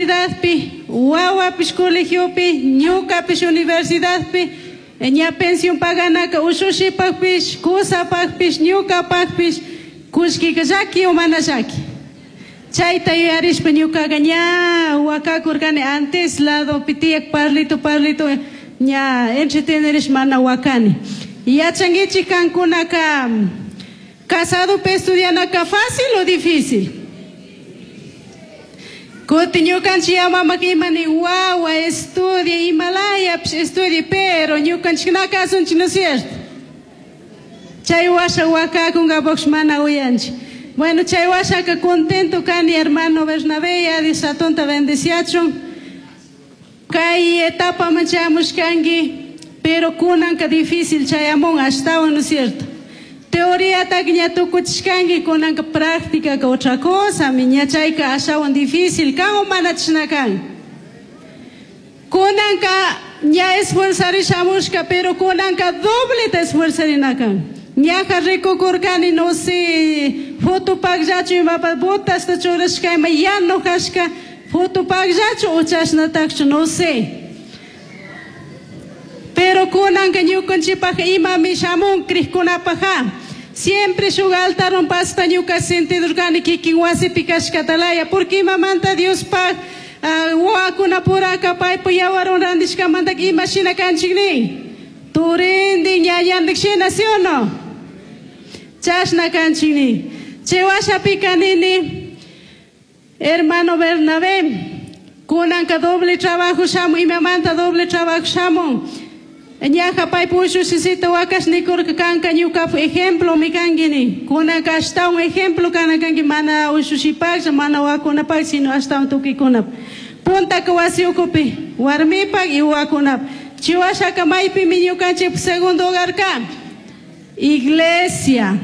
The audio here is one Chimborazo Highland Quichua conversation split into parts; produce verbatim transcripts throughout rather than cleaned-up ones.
Universidadpi, wawapish colegiopi, ñukapish universidadpi, ña pensión paganaka ushushipakpish, kusapakpish, ñukapakpish, kullkika llaki o mana llaki. Chayta yuyarishpa ñukaqa ña wakakurkani antes ladopi tiyak parlito parlito ña entretenerish mana wakani. Yachankichik kankunaka casadopi estudianaka fácil o difícil? Kutin ñukanchik mamaka imani wawa estudia imalayapish estudia pero ñukanchik na kasunchik, ¿no es cierto? Chay washa wakakunkapuksh mana uyanchik. Bueno, chay washaka contento kani hermano Bernabé, ya Dios atunta bendeciachun. Kay etapaman chayamushkanki, pero kunanka difícil chayamun ashtawan, ¿no es cierto? Teoría ña tukuchishkanki, kunanka práctica ka otra cosa, mi ña chayka ashawan difícil kan o mana chashna kan. Kunanka ña esforzarish pero kunanka doble ta esforzarina kan. Ñaja rikukurkani, no sé, foto pakllachu imapa botasta churashka ima yano kashka, foto pakllachu o chashnatakchu, no sé. Pero kunanka ñukanchikpaj imami shamun krikkunapaja. Siempre shuk altarwan pasta ñuka sentidurkani kikin wasipi kashkatalaya, porque imamanta Diospaj uh, wawakunapuraka paypa yawarwan randishkamantaka imashina kanchik nin. Turindi ñañandik shina, ¿sí o no? Chashna kanchik nin. Chay washapika nini, hermano Bernabé, kunanka doble trabajo shamun, imamanta doble trabajo shamun. Ñaja paypa ushushisita wakash nikurka kanka ñukapa ejemplo mi kanki nin. Kunanka ashtawan ejemplo kana kanki mana ushushipaklla, mana wawakunapak, sino ashtawan tukuykunapa. Puntaka wasi ukupi, warmipak y wawakunapak. Chay washaka maypimi ñukanchik segundo hogar ka. Iglesia.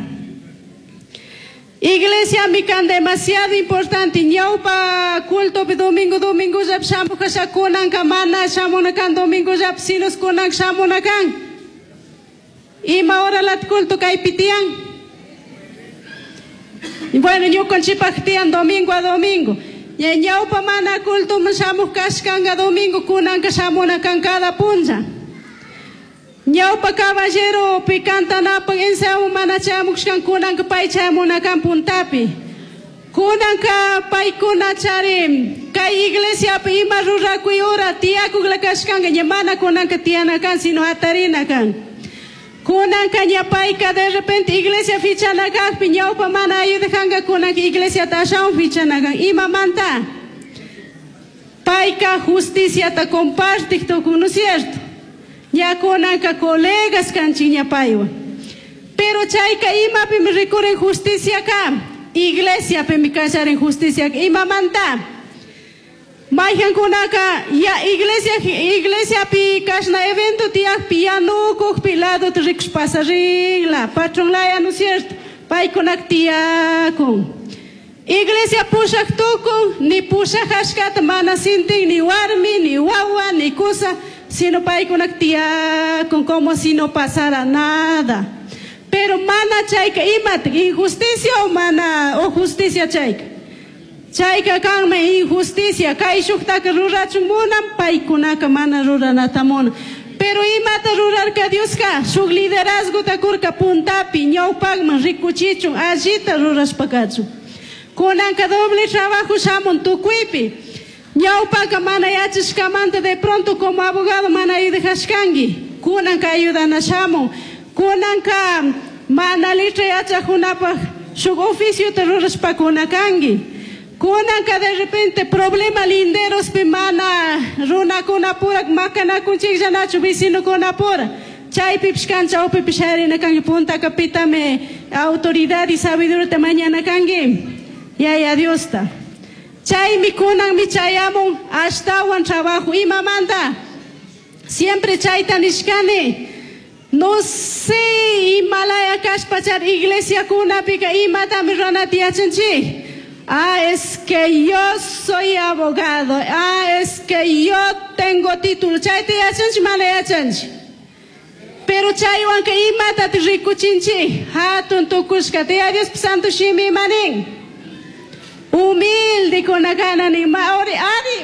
Iglesia mi kan demasiado importante. Ñawpa culto domingo domingo llap shamuj kasha kunanka mana shamuna kan domingo llap sino kunan shamuna kan. Ima hora lat culto kaypi tiyan. Bueno, ñukanchikpak tiyan domingo a domingo. Ña ñawpa mana culto shamuj kashkanka domingo kunanka shamuna kan cada punlla. Ñawpa caballero pi cantanapak ensayo mana chamushkan kunanka pay chamuna kan puntapi. Kunanka paykuna chari kay iglesiapi ima rurakuy hora tiyakukla kashkanka ña mana kunanka tiyana kan sino atarina kan. Kunanka ña payka de repente iglesia fichana kakpi ñawpa mana ayudajanka kunanka iglesia ashawan fichana kan. Imamanta? Payka justiciata compartik tukun, ¿no es cierto? Ña kunanka colegas kanchik ña paywan. Pero chayka imapimi rikurin justicia ka. Iglesiapimi kallarin justicia imamanta. Mayhankunaka ya iglesia iglesiapi kashna evento tiyakpi yanukukpi ladota rikush pasarinla patron laya, ¿no es cierto? Paykunak tiyakun. Iglesia pushak tukun ni pushak mana sintin ni warmi ni wawa ni kusa, sino paykunak tiyakun como si no pasara nada. Pero mana chayka imata injusticia o mana o justicia chayka. Chayka kanmi injusticia kay shuktaka rurachun munan paykunaka mana ruranata munan. Pero imata rurarka Dioska shuk liderazgota kurka puntapi ñawpakman rikuchichun allita rurashpa kachun. Kunanka doble trabajo shamun tukuypi. Ñawpaka mana yachashkamanta de pronto como abogado mana ayudashkanki. Kunanka ayudana shamun. Kunanka mana letra yachakunapaj shuk oficiota rurashpakuna kanki. Kunanka de repente problema linderospi mana runakunapura makanakunchikllanachu vecinokunapura. Chaypipish kan chawpipish sharina kanki puntaka pitami autoridad y sabiduría mañana kanki. Yaya Diosta. Chaymi kunanmi chayamun ashtawan trabajo imamanta. Siempre chayta nishkani. No sé imalaya kashpachar iglesia kunapika imatami runata yachanchik. Ah, es que yo soy abogado. Ah, es que yo tengo título. Chayta yachanchik mana yachanchik. Pero chaywanka imatata rikuchinchik. Hatun tukushkata. Ya Dios santo shimi imanin. Humilde kuna kana ni maori ari.